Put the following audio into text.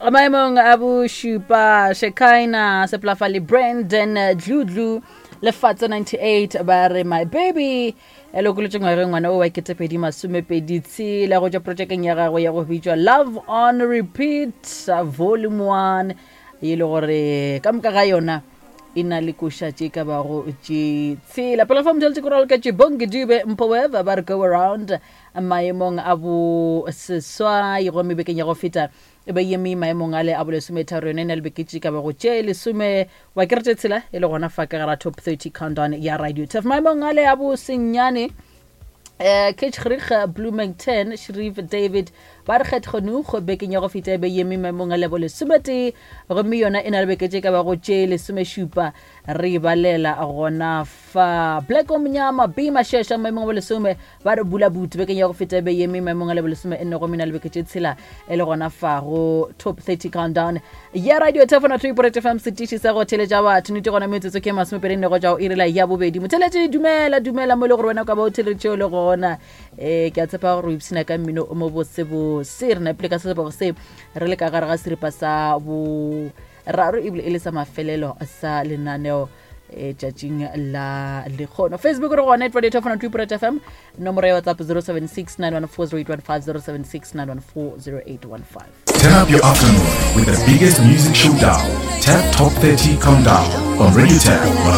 Maemong a bošupa Shekina Seplafa le Brandon Dludlu Lefatso 98 ba re my baby e lokolotše ngwageng ngwana o wa ketepedi masomepedi tshela go tšwa projekeng ya gagwe ya go bitšwa Love on Repeat Volume 1 e le gore ka moka ga yona e na le koša tše ka bago tše tshela. Pele fa motheletse koralo ka tše Bongi Dube Mpoweva ba re go around maemong a bo seswai gomme bekeng ya go feta e be eme maemong ale a bolesometharo yone e na le beke tše ka bago tše lesome wa kere tše tshela e le gona fa ka gara top 30 countdown ya radio tef maemong ale a bo senyane eh Ketchrig Bloomington Sharif David ba re kgethgonugo bekeng ya go feta e be eme maemong a lebo lesometee gomme yona e na le beke tše ka bago tše lesomešupa re balela gona fa Black Omnyama B Mashesha maemong a bolesome ba re bula buti bekeng ya go feta e be eme maemong a lebolesome e nne gomme na le beke tše tshela e le gona fa go top 30 countdown ya radio tefona 3 fm setiši sa go theletša batho nete gona metsotso ke masomepedi nne go tša go irela ya bobedi motheletše dumela dumela mo e le gore wena o ka ba o theletše o le gona um ke a tshepa gore o ipshina ka mmino o mo bosebose re napile ka sesebego se re le ka gare ga seripa sa bo raro ebile e le sa mafelelo sa lenaneo e tšatšing la lekgono facebook re gona at radio 2 fm nomoro ya whatsapp 076 914 0815 076 914 0815 Turn up your afternoon with the biggest music showdown, Tap Top 30 Countdown on Radio Tap 103.